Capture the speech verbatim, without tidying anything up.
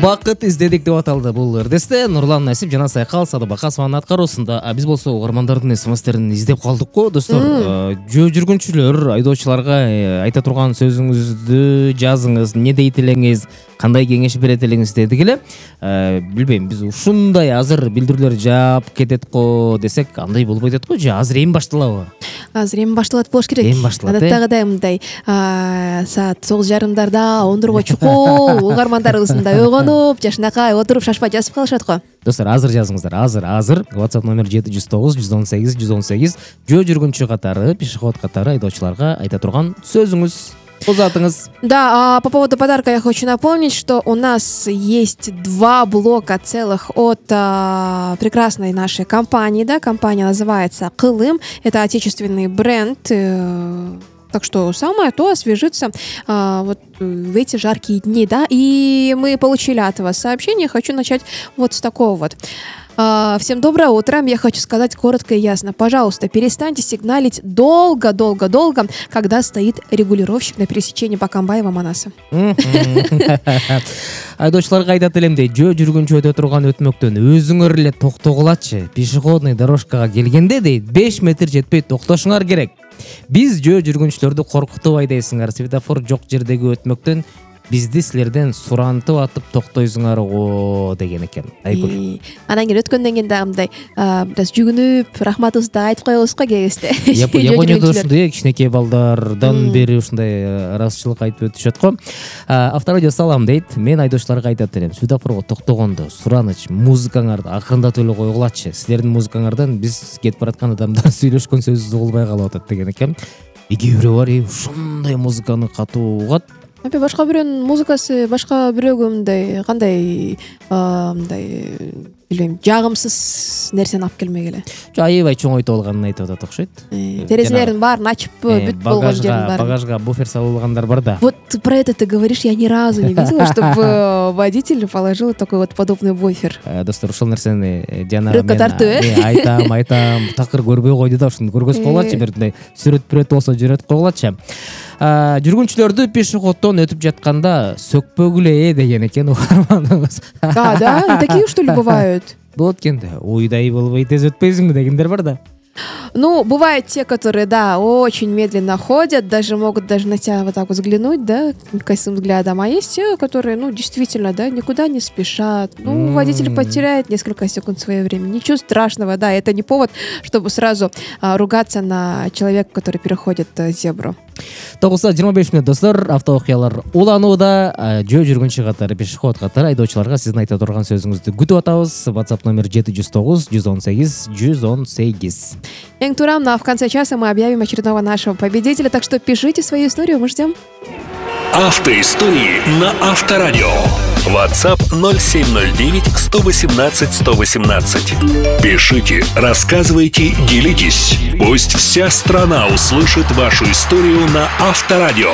Бакыт издедик деп аталды бул ырдесте. Нурлан Насип жана Сайкал Садыбакасованын аткаруусунда. А биз болсо угармандардын смстерин издеп калдык го достор. Жөө жүргүнчүлөр айдоочуларга айта турган сөзүңүздү жазыңыз, не дейт элеңиз, кандай кеңеш берет элеңиз дедик эле. Билбейм, биз ушундай азыр билдирүүлөр жаап кетет го десек андай болбой атат го, же азыр эми башталабы? Азыр эми башталат болуш керек. Эми башталат. Адаттагыдай мындай саат тогуз жарымдарда ондурго чукул угармандарыбыз мындай ойгонуп, жашынакай отуруп шашпай жазып калышат го. Достор, азыр жазыңыздар. Азыр, азыр. WhatsApp номер жети жүз тогуз жүз он сегиз жүз он сегиз. Жөө жүргүнчү катары, пешеход катары айдоочуларга айта турган сөзүңүз, узатыңыз. Да, а по поводу подарка я хочу напомнить, что у нас есть два блока целых от а, прекрасной нашей компании. Да, компания называется Кылым. Это отечественный бренд. Э, Так что самое то освежиться а, вот в эти жаркие дни, да. И мы получили от вас сообщение. Хочу начать вот с такого вот. А, всем доброе утро. Я хочу сказать коротко и ясно. Пожалуйста, перестаньте сигналить долго-долго-долго, когда стоит регулировщик на пересечении Бакамбаева-Манаса. Айдоочуларга айтат элемдей, жөө жүргүнчү өтө турган өтмөктөн өзүңөр эле токтогулачы. Пешеходный дорожкага келгенде дейт, беш метр жетпей токтошуңар керек. Биз жөө жүргүнчүлөрдү коркутубай дейсиңер. Светофор жок жердеги өтмөктөн бизди силерден сурантып атып токтойсуңар го деген экен. Айгүл. Анан кийин өткөндөн кийин дагы мындай бир аз жүгүнүп, рахматыбызды айтып коебуз го кебизде. Японияда ушундай кичинекей балдардан бери ушундай ыраазычылык айтып өтүшөт го. Авторадио салам дейт. Мен айдоочуларга айтат элем, светофорго токтогондо сураныч музыкаңарды акырындатып эле койгулачы. Силердин музыкаңардан биз кетип бараткан адамдар сүйлөшкөн сөзү угулбай калып атат деген экен. Эки бирөө бар, ушундай музыканы катуу угат. Эпе башка бирөөнүн музыкасы башка бирөөгө мындай кандай мындай билбейм, жагымсыз нерсени алып келмек эле. Аябай чоң ойто алганын айтып атат окшойт. Терезелерин баарын ачып бүт болгон жерин баарын. Багажга буфер салуулгандар бар да. Вот про это ты говоришь, я ни разу не видела, чтобы водитель положил такой вот подобный буфер. Достор, ушул нерсени жана мен айтам, айтам, такыр көрбөй койду да, ушуну көргөз койгулачы, бир мындай сүрөт-пүрөт болсо жүрөт койгулачы. Жүргүнчүлөрдү пешеходдон өтүп жатканда сөкпөгүлө деген экен угарманыбыз. Да, да, такие что ли бывают? Болот экенде, уйдай болбой тез өтпөйсүңбү дегендер бар да. Ну, бывают те, которые, да, очень медленно ходят, даже могут даже на тебя вот так вот взглянуть, да, косым взглядом. А есть те, которые, ну, действительно, да, никуда не спешат. Ну, водитель потеряет несколько секунд своего времени. Ничего страшного, да, это не повод, чтобы сразу а, ругаться на человека, который переходит а, зебру. тогузда жыйырма беш мүнөт достор, авто окуялар уланууда. Жөө жүргүнчү катары, пешеход катары айдоочуларга сиздин айта турган сөзүңүздү күтүп атабыз. WhatsApp номер жети жүз тогуз жүз он сегиз жүз он сегиз. Эң турам, но в конце часа мы объявим очередного нашего победителя, так что пишите свою историю, мы ждем. Автоистории на Авторадио. WhatsApp ноль семь ноль девять сто восемнадцать сто восемнадцать. Пишите, рассказывайте, делитесь. Пусть вся страна услышит вашу историю на Авторадио.